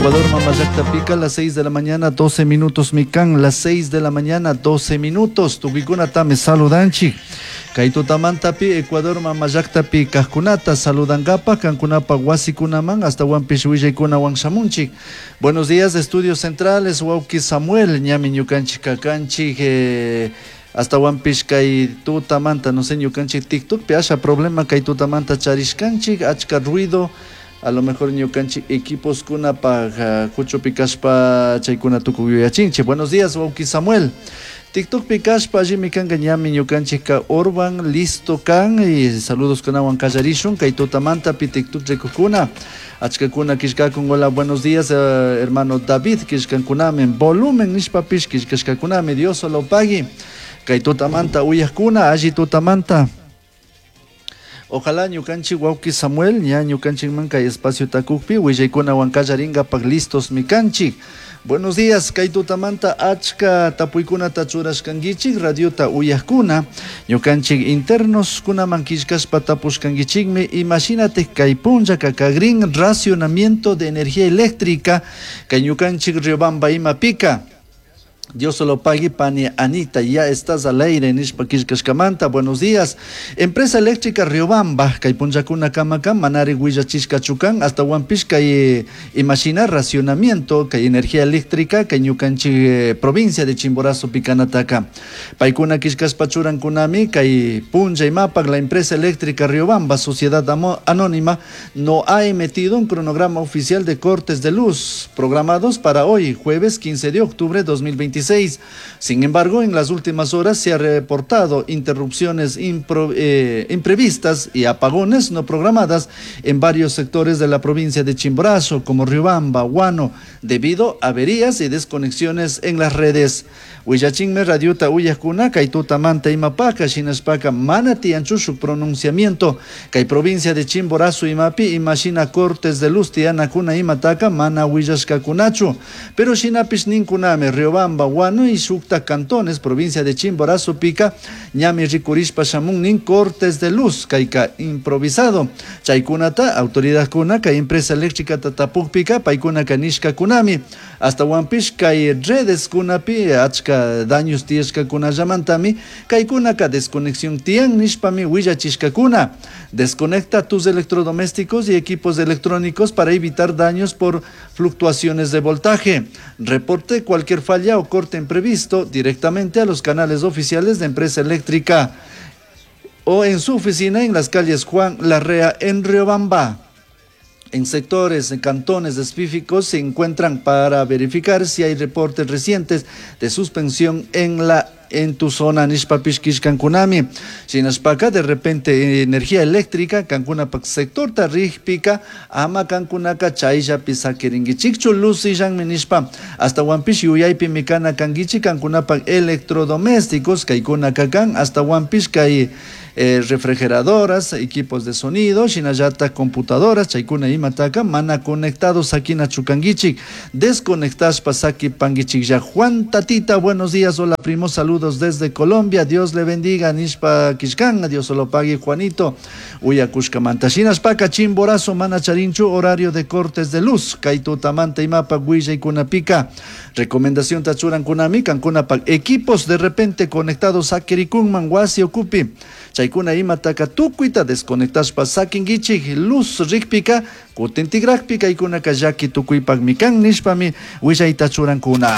Ecuador Mamallakta las 6 de la mañana 12 minutos mikan, las 6 de la mañana 12 minutos. Tukuikunatami saludanchik. Kay tutamantapi Ecuador Mamallaktapi kajkunata saludankapa kankunapa wasikunaman astawanpish willaykunawan shamunchik. Buenos días, Estudios Centrales, wawki Samuel, ñami ñukanchik kakanchik astawanpish kay tutamanta, no sé, ñukanchik TikTokpi asha problema kay tutamanta charishkanchik, achka ruido, a lo mejor ñukanchik equipos kunapaj kuchupi kashpa chaykuna tukuy yuyachinchik. Buenos días, wawki Samuel. TikTokpi kashpa allimi kanka ñami ñukanchikka Orban listo kan y saludos kunawan kallarishun kay tutamantapi TikTok rikukuna achkakuna killkakun. Hola, buenos días, hermano David killkankunami, volumen nishpapish killkashkakunami. Dios solo pagui kay tutamanta uyakuna, alli tutamanta. Ojalá ñukanchik wawki Samuel ña ñukanchikman kay espacio takukpi willaykunawan kallarinkapak listos mikanchik. Buenos días, kay tutamanta achka tapuykunata churashkankichik radiota uyakuna, ñukanchik internos kunaman killkashpa tapushkankichikmi imashinatik kay punllaka kagrin racionamiento de energía eléctrica kay ñukanchik Riobamba imapika. Dios lo pague, pani Anita, ya estás al aire, nishpa killkashkamanta. Buenos días. Empresa Eléctrica Riobamba, kay punllakuna kamaka, manari willachishkachu kan, astawanpish kay imashina racionamiento, kay energía eléctrica, kay ñukanchik provincia de Chimborazo pikanataka. Paykuna killkashpa churankunami, kay punlla imapak, la empresa eléctrica Riobamba, Sociedad Anónima, no ha emitido un cronograma oficial de cortes de luz programados para hoy, jueves 15 de octubre de 2026. Sin embargo, en las últimas horas se ha reportado interrupciones imprevistas y apagones no programadas en varios sectores de la provincia de Chimborazo, como Riobamba, Huano, debido a averías y desconexiones en las redes. Willachinme radiota uyakuna, kay tutamanta imapaka, shinashpaka, mana tiyanchu shuk pronunciamiento, kay provincia de Chimborazo imapi, imashina cortes de luz tiyanakuna imataka, mana willashkakunachu. Pero shinapish ninkunami, Riobamba, Huano y shukta cantones, provincia de Chimborazo pica, ñami rikurishpa shamun nin cortes de luz, kayka improvisado. Chaykunata, autoridad kuna, kay empresa eléctrica tatapukpika, paykuna kanishka kunami. Astawanpish kay redes kunapi, achka daños tiyashkakunallamantami, kaykunaka desconexión tiyan nishpami willachishkakuna. Desconecta tus electrodomésticos y equipos electrónicos para evitar daños por fluctuaciones de voltaje. Reporte cualquier falla o corte imprevisto directamente a los canales oficiales de empresa eléctrica o en su oficina en las calles Juan Larrea en Riobamba. En sectores, en cantones específicos se encuentran para verificar si hay reportes recientes de suspensión en tu zona nishpapish kishkankunami. Shinashpaka de repente energía eléctrica kankunapak sector tarrijpika ama kankunaka chayllapi sakirinkichikchu luz illanmi nishpa astawanpish yuyaypi mikana kankichik kankunapak electrodomésticos kaykunaka kan astawanpish kay refrigeradoras, equipos de sonido, shinallata computadoras, chaykuna imataka mana conectados sakinachu kankichik, desconectashpa sakipankichik ya. Juan Tatita, buenos días, hola primo, saludos desde Colombia, Dios le bendiga, nishpa kishkan, Dios lo pague Juanito, uyakushkamanta. Shinashpaka Chimborazo mana charinchu horario de cortes de luz, kay tutamanta imapa willaykunapika, recomendación tachuran kunami, kankunapak equipos de repente conectados sakirikunman wasi ukupi, chaykuna imataka tukuyta desconectashpa sakinkichik luz rikpika kutintikrakpi kaykunaka llaki tukuypakmi kan nishpami willayta churankuna.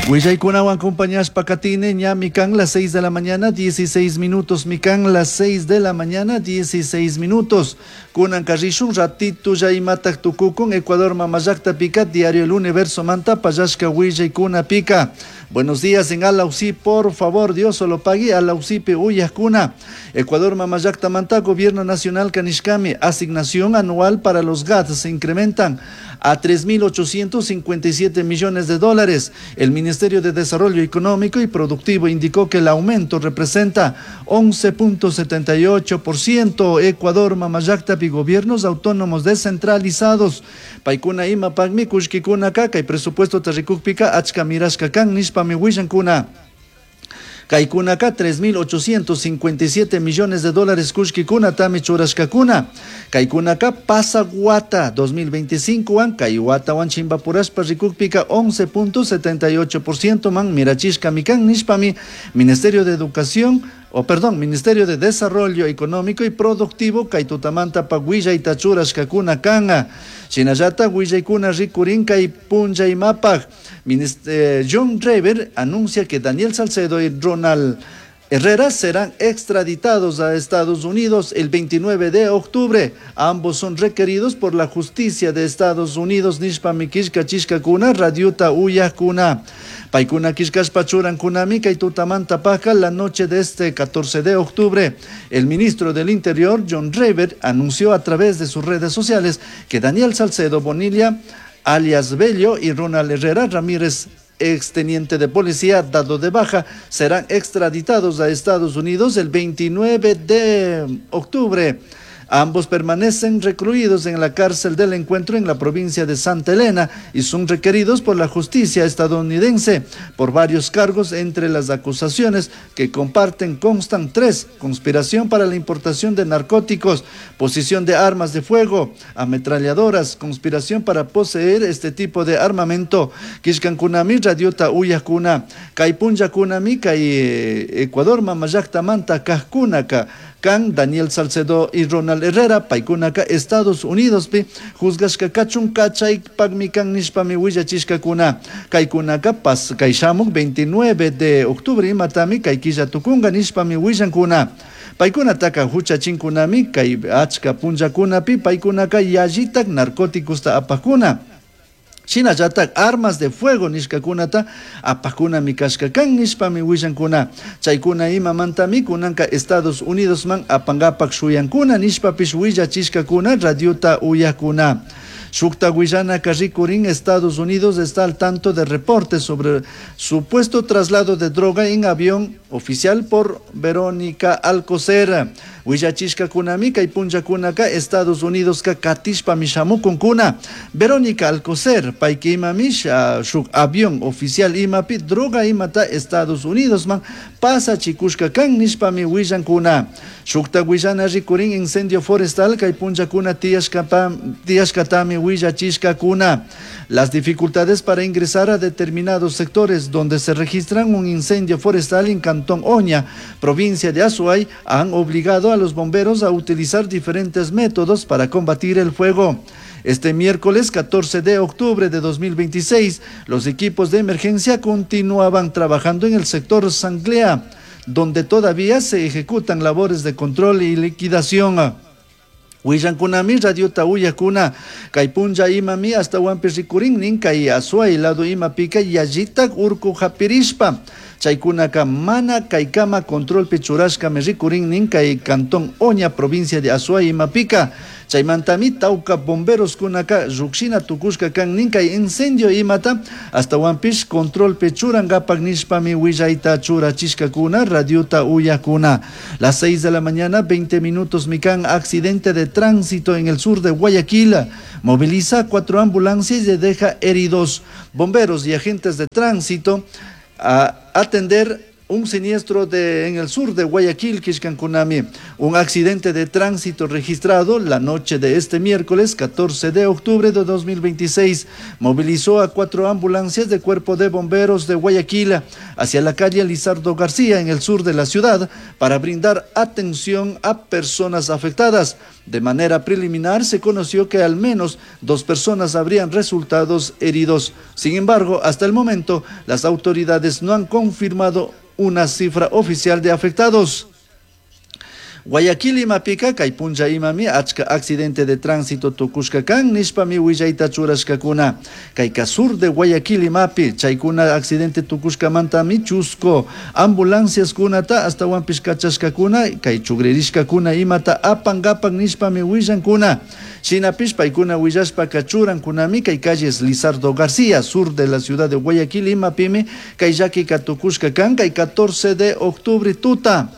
Willaykunawan acompañashpa katine ña mikan las 6 de la mañana 16 minutos, mikan las 6 de la mañana 16 minutos. Kunan karrishun ratito ya imatak tukukun Ecuador Mamallakta pika diario El Universo manta payashka willaykuna pika. Buenos días en Alausí, por favor, Dios solo pague Alausipe uyakuna. Ecuador Mamallakta manta Gobierno Nacional Kanishkami, asignación anual para los GAT se incrementan a 3.857 millones de dólares. El Ministerio de Desarrollo Económico y Productivo indicó que el aumento representa 11.78%. Ecuador, Mamallakta y gobiernos autónomos descentralizados. Paykuna ima pakmi kullkikuna kaka y presupuesto tarrikukpika achka mirashka kan nishpami willankuna. Kaykunaka 3.857 millones de dólares kullkikunatami churashkakuna. Kaykunaka pasak wata 2025 wan kay watawan chimpapurashpa rikukpika 11.78% man mirachishkami kan nishpami Ministerio de Educación o perdón, Ministerio de Desarrollo Económico y Productivo kay tutamanta willayta churashkakuna kan. Shinallatak willaykuna rikurin kay punllaymapaj. John Rever anuncia que Daniel Salcedo y Ronald Herrera serán extraditados a Estados Unidos el 29 de octubre. Ambos son requeridos por la justicia de Estados Unidos. Nishpami killkachishkakuna, radiota uyakuna. Paykuna killkashpa churankunami kay tutamanta paja la noche de este 14 de octubre. El ministro del Interior, John Rever, anunció a través de sus redes sociales que Daniel Salcedo Bonilla, alias Bello, y Ronald Herrera Ramírez, exteniente de policía dado de baja, serán extraditados a Estados Unidos el 29 de octubre. Ambos permanecen recluidos en la cárcel del Encuentro en la provincia de Santa Elena y son requeridos por la justicia estadounidense por varios cargos. Entre las acusaciones que comparten constan tres: conspiración para la importación de narcóticos, posesión de armas de fuego, ametralladoras, conspiración para poseer este tipo de armamento. Killkankunami radiota uyakuna, kay punllakunami kay Ecuador mamallaktamanta kajkunaka kan Daniel Salcedo y Ronald Herrera, paykunaka Estados Unidos pi juzgashka kachun kachaypakmi kan nishpami willachishkakuna. Kaykunaka pas kay shamuk 29 de octubre imatami kay killa tukunga nishpami willankuna. Paykunataka huchachinkunami kay achka punllakunapi paykunaka yallitak narcóticosta apakuna. Shinallatak armas de fuego nishkakunata apakunami kashka kan nishpami willankuna. Chaykuna imamantami kunanka Estados Unidos man apangapak shuyankuna nishpapish willachishkakuna radiota uyakuna. Shukta willanaka rikurin. Estados Unidos está al tanto de reportes sobre supuesto traslado de droga en avión oficial por Verónica Alcocer. Willachishkakunami kay punllakunaka Estados Unidos ka katishpami shamukunkuna. Verónica Alcocer, payka imami shuk avión oficial imapi droga imata Estados Unidos man pasachikushka kan nishpami willankuna. Shukta willana rikurin. Incendio forestal kay punllakuna tiyashkatami willachishkakuna. Las dificultades para ingresar a determinados sectores donde se registran un incendio forestal en Cantón Oña, provincia de Azuay, han obligado a los bomberos a utilizar diferentes métodos para combatir el fuego. Este miércoles 14 de octubre de 2026, los equipos de emergencia continuaban trabajando en el sector Sanglea, donde todavía se ejecutan labores de control y liquidación. Willankunami radiota uyakuna kay punlla imami ashtawanpish rikurin nin kay Azuay lado imapika yallitak urku hapirishpa chaykunaka mana kaykama controlpi churashkami rikurin nin kay Cantón Oña, provincia de Azuay imapika. Chaymantami tawka bomberos kunaka llukshina tukushka kan nin kay incendio imata ashtawanpish controlpi churankapak nishpami willayta churachishkakuna radiota uyakuna. Las 6 de la mañana, 20 minutos mikan. Accidente de tránsito en el sur de Guayaquil moviliza cuatro ambulancias y deja heridos. Bomberos y agentes de tránsito a atender un siniestro en el sur de Guayaquil, killkankunami. Un accidente de tránsito registrado la noche de este miércoles 14 de octubre de 2026 movilizó a cuatro ambulancias de cuerpo de bomberos de Guayaquil hacia la calle Lizardo García en el sur de la ciudad para brindar atención a personas afectadas. De manera preliminar se conoció que al menos dos personas habrían resultado heridos. Sin embargo, hasta el momento las autoridades no han confirmado una cifra oficial de afectados. Guayaquil imapika kay punlla imami achka accidente de tránsito tukushka kan nishpami willayta churashkakuna. Kayka sur de Guayaquil imapi chaykuna accidente tukushkamantami chusku ambulancias kunata ashtawanpish kachashkakuna kay chugririshkakuna imata apankapak nishpami willankuna. Shinapish paykuna willashpaka churankunami kay calles Lizardo García, sur de la ciudad de Guayaquil imapimi kay llakika tukushka kan kay 14 de octubre tuta.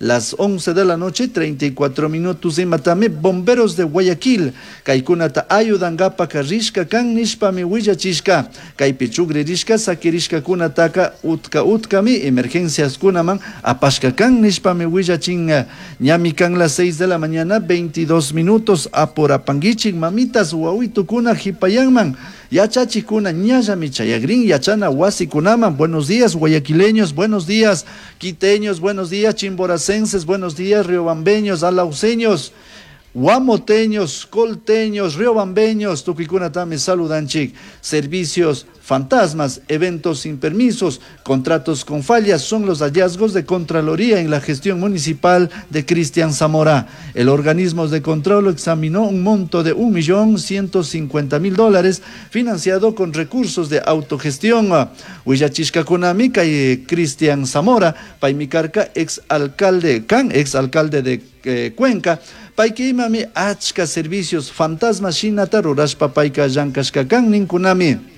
Las 11 de la noche, 34 minutos imatami bomberos de Guayaquil kaykunata ayudankapak rishka kan nishpami willachishka. Kaypi chugririshka sakirishkakunataka utka utkami emergenciaskunaman apashka kan nishpami willachin. Ñami kan las 6 de la mañana, 22 minutos. Apurapanguichik mamitas wawitukuna hipayanman. Yachachikuna ñallami chayagrin yachana wasikunaman. Buenos días guayaquileños, buenos días quiteños, buenos días chimboracenses, buenos días riobambeños, alauceños, guamoteños, colteños, riobambeños, tukuykunatami saludanchik. Servicios fantasmas, eventos sin permisos, contratos con fallas son los hallazgos de Contraloría en la gestión municipal de Cristian Zamora. El organismo de control examinó un monto de 1.150.000 dólares financiado con recursos de autogestión. Willachishkakunami kay Cristian Zamora, paymi karka ex alcalde, kan ex alcalde de Cuenca, payka imami achka servicios fantasma shinata rurashpa payka llankashka kan ninkunami.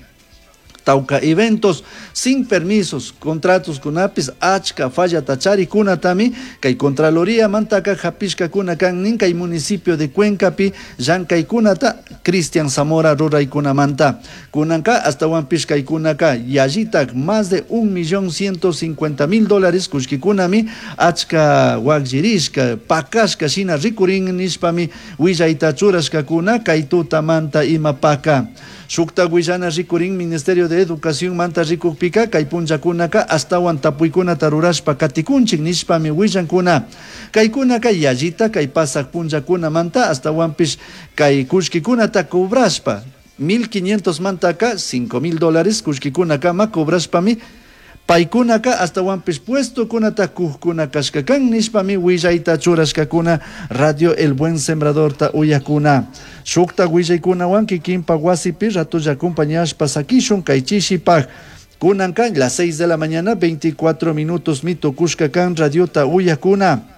Tauka eventos sin permisos, contratos kunapis achka fallata charikunatami kay Contraloría mantaka hapishkakuna kan nin kay municipio de Cuencapi llankaykunata Cristian Zamora ruraykunamanta. Kunanka astawanpish kaykunaka yallitak más de 1.150.000 dólares kullkikunami achka wakllirishka pakashka shina rikurin nishpami willayta churashkakuna kay tutamanta imapaka. Shukta willana rikurin Ministerio de Educación manta rikukpika kay punllakunaka astawan tapuykunata rurashpa katikunchik nishpami willankuna. Kaykunaka yallita kay pasak punllakunamanta astawanpish kay kullkikunata cobrashpa 1.500 mantaka 5.000 dólares kullkikunakama cobrashpami paykunaka astawanpish puestokunata kujkuna kashka kan nishpami willayta churashkakuna Radio El Buen Sembradorta uyakuna. Shukta willaykunawan kikinpa wasipi ratolla acompañashpa sakishun kay chishipaj. Kunanka las 6 de la mañana 24 minutos mitukushka kan radiota uyakuna.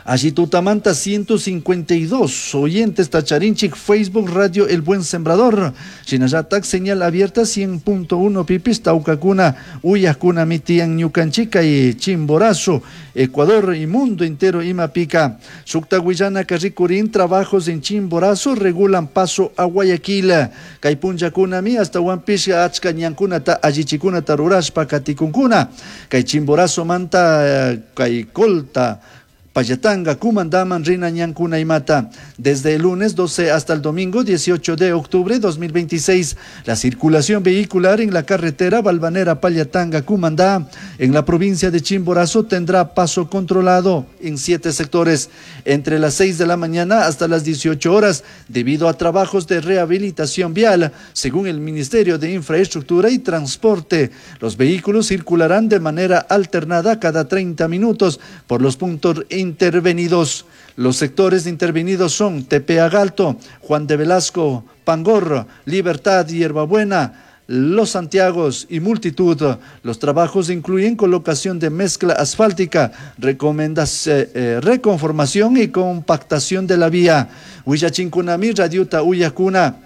Allí tutamanta 152 oyentes tacharinchik Facebook Radio El Buen Sembrador. Shinallatak señal abierta 100.1 pipis taucacuna uyakuna mitian ñukanchika y Chimborazo, Ecuador y mundo entero imapica. Shukta Guillana Carricurín, trabajos en Chimborazo regulan paso a Guayaquil. Kay punllakunami hasta Huampisca achka ñankunata allichikunata rurashpa katikunkuna. Kay Chimborazo manta kay Colta Pallatanga, Cumandaman, Rina, Ñancuna y Mata. Desde el lunes 12 hasta el domingo 18 de octubre 2026, la circulación vehicular en la carretera Balvanera Pallatanga, Cumandá, en la provincia de Chimborazo, tendrá paso controlado en 7 sectores, entre las 6 de la mañana hasta las 18 horas, debido a trabajos de rehabilitación vial, según el Ministerio de Infraestructura y Transporte. Los vehículos circularán de manera alternada cada 30 minutos por los puntos intervenidos. Los sectores intervenidos son Tepeagalto, Juan de Velasco, Pangor, Libertad, Hierbabuena, Los Santiagos y multitud. Los trabajos incluyen colocación de mezcla asfáltica, reconformación y compactación de la vía. Huillachinkunami, Radiuta Uyacuna,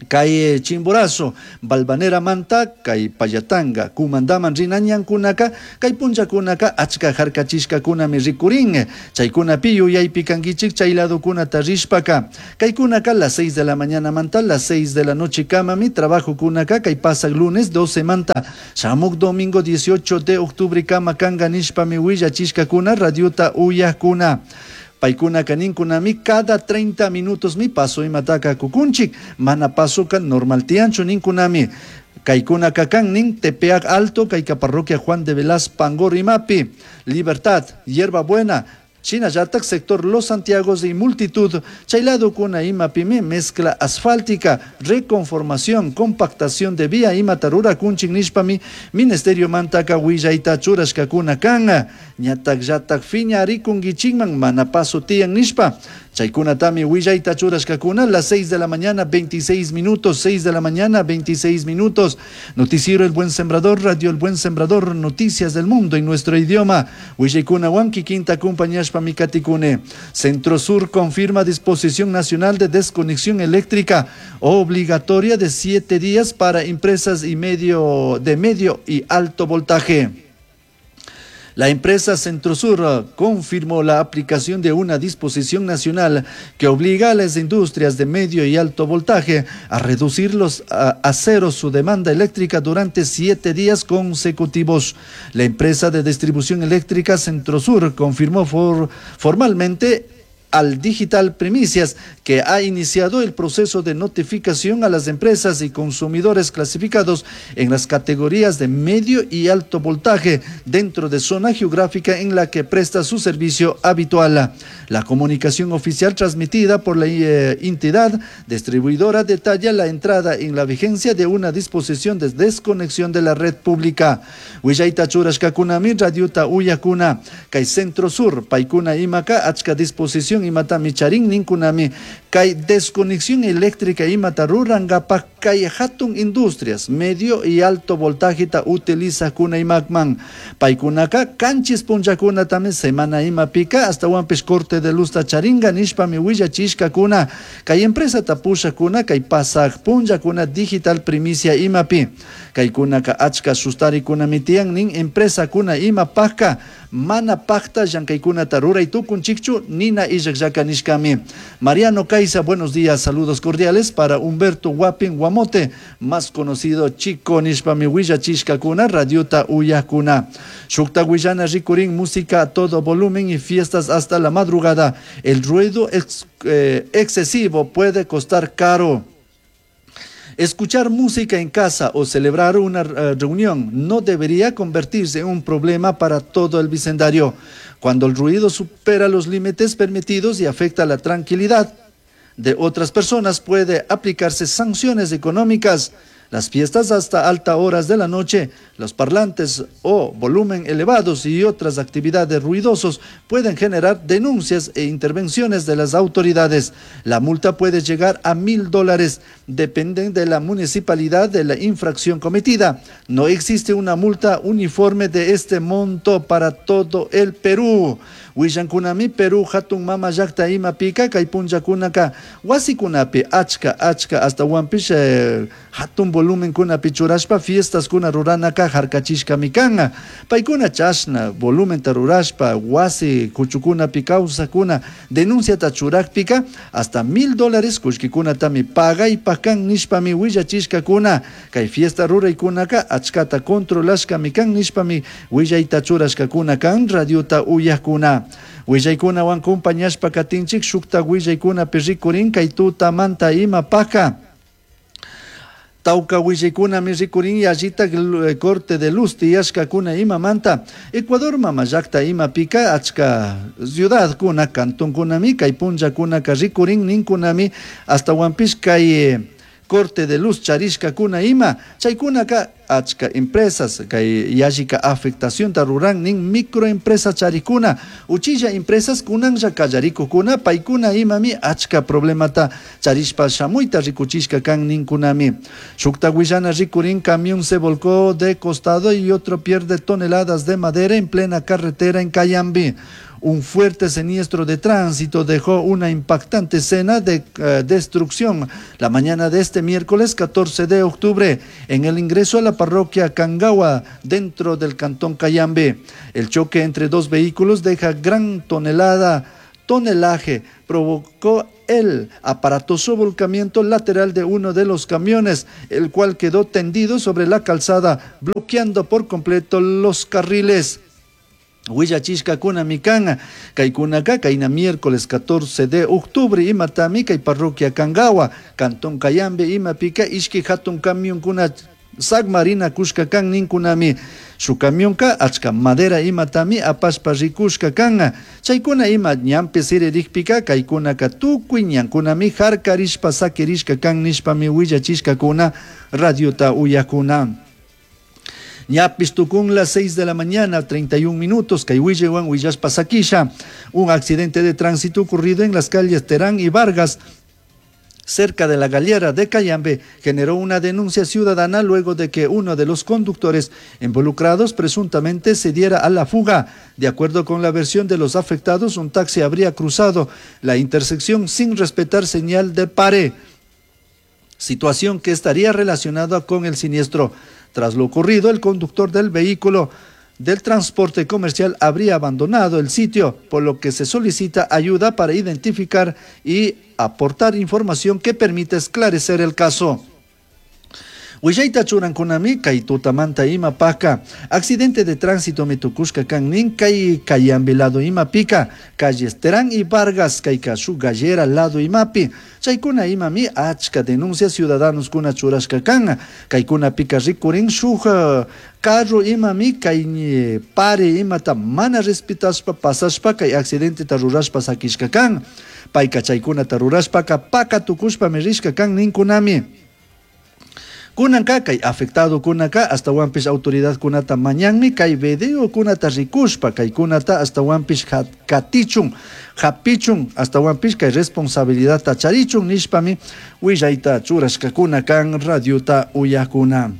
Kay Chimborazo, Balvanera Manta, kay Pallatanga, Kumandaman Rinañankunaka, kay Punchakunaka, achka harkachishkakunami rikurin, chaykunapi yuyaypi kankichik chay ladokunata rishpaka. Kaykunaka las 6 de la mañana manta, las 6 de la noche kamami, trabajo kunaka, kay pasak lunes 12 manta, shamuk domingo 18 de octubre kama kanga nishpami willachishkakuna, radiuta uyakuna. Paykuna kaninkunami cada 30 minutos mi paso imataka kukunchik, mana pasoka normal tiancho ninkunami. Kaikuna kakan Tepeac Alto, Kaika Parroquia Juan de Velaz, Pangor Imapi, Libertad, Hierba Buena, Chinayatak, sector Los Santiagos y multitud, Chaylado kuna imapimi, mezcla asfáltica, reconformación, compactación de vía, imatarura kunchik nishpami, Ministerio mantaka willayta churashka kuna kan, ñatak yatak fiña arikungichikman, manapaso tiyan nishpa, Chaykunatami willayta churashkakuna, las 6 de la mañana, 26 minutos, 6 de la mañana, 26 minutos. Noticiero El Buen Sembrador, Radio El Buen Sembrador, noticias del mundo en nuestro idioma. Willaykuna wanki quinta compañashpa mikatikune. Centro Sur confirma disposición nacional de desconexión eléctrica obligatoria de 7 días para empresas y medio, de medio y alto voltaje. La empresa Centrosur confirmó la aplicación de una disposición nacional que obliga a las industrias de medio y alto voltaje a reducir a cero su demanda eléctrica durante 7 días consecutivos. La empresa de distribución eléctrica Centrosur confirmó formalmente al Digital Primicias que ha iniciado el proceso de notificación a las empresas y consumidores clasificados en las categorías de medio y alto voltaje dentro de zona geográfica en la que presta su servicio habitual. La comunicación oficial transmitida por la entidad distribuidora detalla la entrada en la vigencia de una disposición de desconexión de la red pública. Willayta churashkakunami radiota uyakuna kay Centro Sur paykuna imaka achka disposición imatami charin ninkunami kay desconexión eléctrica imata rurankapak kay hatun industrias medio y alto voltajeta utilizakuna imakman paykunaka kanchis punllakunatami semana imapika astawanpish corte de luzta charinga nishpami willachishkakuna kay empresata pushakuna kay pasaj punllakuna Digital Primicia imapi kaykunaka achka sustarikunami tiyan nin empresakuna imapajka mana pakta llankaykunata ruray tukunchikchu nina illakllaka nishkami. Mariano Caiza, buenos días, saludos cordiales para Humberto Guapin Guamote, más conocido Chico nishpami willachishkakuna radiota uyakuna. Shukta willana rikurin, música a todo volumen y fiestas hasta la madrugada. El ruido excesivo puede costar caro. Escuchar música en casa o celebrar una reunión no debería convertirse en un problema para todo el vecindario. Cuando el ruido supera los límites permitidos y afecta la tranquilidad de otras personas, puede aplicarse sanciones económicas. Las fiestas hasta altas horas de la noche, los parlantes o volumen elevados y otras actividades ruidosos pueden generar denuncias e intervenciones de las autoridades. La multa puede llegar a $1,000, dependen de la municipalidad de la infracción cometida. No existe una multa uniforme de este monto para todo el Perú. Willankunami Perú hatun mama llaqta imapika kay punllakunaka wasikunapi achka achka hasta wampish hatun volumenkunapi churashpa fiestaskuna ruranaka harkachishkami kan. Paykuna chashna volumenta rurashpa wasi kuchukunapi kawsakuna denunciata churakpika hasta $1,000 kullkikunatami pagaypaj kan nishpami willachishkakuna kay fiesta ruraykunaka achkata controlashkami kan nishpami willayta churashkakuna kan radiota uyakuna. Willaykunawan compañashpa katinchik shukta willaykunapi rikurin kay tutamanta imapaka. Tauka willaykunami rikurin yallita corte de luz tiyashkakuna imamanta. Ecuador mama llakta imapika achka ciudadkuna cantonkunami kay punllakunaka rikurin ninkunami astawanpish kay corte de luz charishkakuna ima chaykunaka achka empresas kay yallika afectacionta ruran nin microempresa charikuna uchilla empresas kunanlla kallarikukuna paykuna imami achka problemata charishpa shamuyta rikuchishka kan ninkunami. Shukta willana rikurin camión se volcó de costado y otro pierde toneladas de madera en plena carretera en Cayambe. Un fuerte siniestro de tránsito dejó una impactante escena de destrucción la mañana de este miércoles 14 de octubre en el ingreso a la parroquia Cangagua dentro del cantón Cayambe. El choque entre dos vehículos deja gran tonelaje, provocó el aparatoso volcamiento lateral de uno de los camiones, el cual quedó tendido sobre la calzada, bloqueando por completo los carriles. Willachishkakuna mikan, kaykunaka kayna miércoles 14 de octubre imatami kay parroquia Cangagua, cantón Cayambe imapika ishki hatun camionkuna sagmarina kushka kan ninkunami. Su camionka achka madera imatami apashpa rikushka kan. Chaykuna ima ñanpi siririkpika kaykunaka tukuy ñankunami harkarishpa sakirishka kan nishpami willachishkakuna radiota uyakuna. Ñapis tukun las 6 de la mañana, 31 minutos, kay willewan willashpa sakisha. Un accidente de tránsito ocurrido en las calles Terán y Vargas, cerca de la Galera de Cayambe, generó una denuncia ciudadana luego de que uno de los conductores involucrados presuntamente se diera a la fuga. De acuerdo con la versión de los afectados, un taxi habría cruzado la intersección sin respetar señal de pare, situación que estaría relacionada con el siniestro. Tras lo ocurrido, el conductor del vehículo del transporte comercial habría abandonado el sitio, por lo que se solicita ayuda para identificar y aportar información que permita esclarecer el caso. Willayta churankunami kay tutamanta imapaka accidente de tránsito mitukushka kan nin kay Cayambe lado imapika calles Terán y Vargas kayka shuk gallera lado imapi chaykuna imami achka denuncia ciudadanos kuna churashka kan kaykunapika rikurin shuk carro imami kay pare imata mana respetashpa pasashpa kay accidenteta rurashpa sakishka kan payka chaykunata rurashpaka paka tukushpami rishka kan ninkunami. Kunanka kay afectado kunaka astawanpish autoridad kunata mañanmi kay video kunata rikushpa kaykunata astawanpish katichun hapichun astawanpish kay responsabilidadta charichun nishpami willayta churashkakuna kan radiota uyakuna.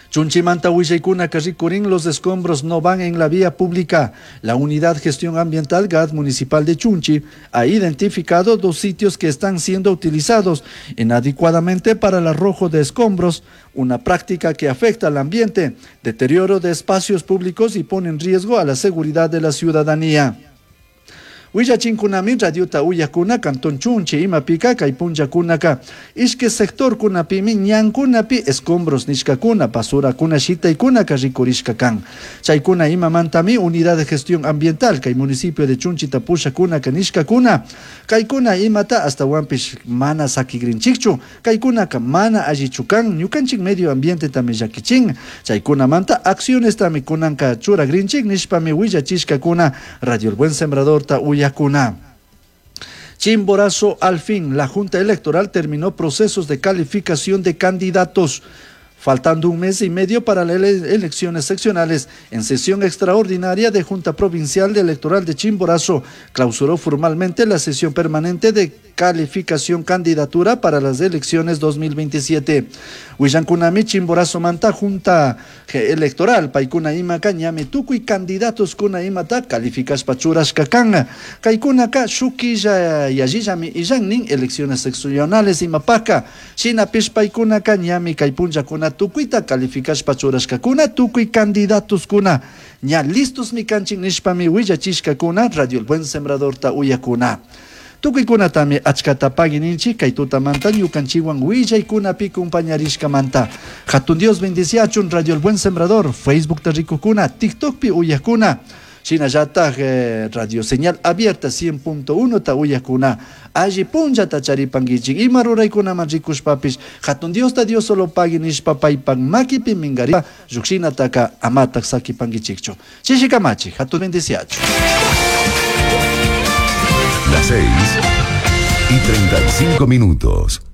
Chunchimanta willaykunaka rikurin los escombros no van en la vía pública. La Unidad Gestión Ambiental GAD Municipal de Chunchi ha identificado 2 sitios que están siendo utilizados inadecuadamente para el arrojo de escombros, una práctica que afecta al ambiente, deterioro de espacios públicos y pone en riesgo a la seguridad de la ciudadanía. Willachinkunami radiota uyakuna cantón Chunchi imapika kay punllakunaka ishki sector kunapimi ñankunapi escombros nishkakuna basurakuna shitaykunaka rikurishka kan chaykuna imamantami unidad de gestión ambiental kay municipio de Chunchi tapushakunaka nishkakuna kaykuna imata astawanpish mana sakigrinchikchu kaykunaka mana allichu kan ñukanchik medio ambiente tami llakichin chaykunamanta acciones tami kunanka churagrinchik nishpami willachishkakuna Radio El Buen Sembrador ta uyakuna. Chimborazo, al fin, la Junta Electoral terminó procesos de calificación de candidatos. Faltando un mes y medio para las elecciones seccionales, en sesión extraordinaria de Junta Provincial de Electoral de Chimborazo, clausuró formalmente la sesión permanente de calificación candidatura para las elecciones 2027. Willankunami Chimborazo manta Junta Electoral, paykuna ima ñami tukuy candidatos kuna imata calificashpa churashka kan. Kaykunaka shukilla yallillami illannin elecciones seccionales imapaka. Shinapish paykunaka ñami kay punllakuna tukuyta calificashpa churashkakuna tukuy candidatos kuna ña listos mi kanchin nishpami willachishkakuna Radio El Buen Sembradorta uyakuna. Tukuykunatami achkata pagui ninchik kay tutamanta ñukanchikwan willaykunapi compañarishkamanta. Hatun Dios bendiciachun Radio El Buen Sembrador, Facebook rikukuna, TikTokpi uyakuna. Shinallataj Radio Señal Abierta 100.1 ta uyakuna. Alli punllata charipankichik ima ruraykunaman rikushpapish hatun Diosta Dios solo pagui nishpa paypak makipi minkari llukshinataka amatak sakipankichikchu. Chishikamachi, hatun bendiciachu. Las 6:35.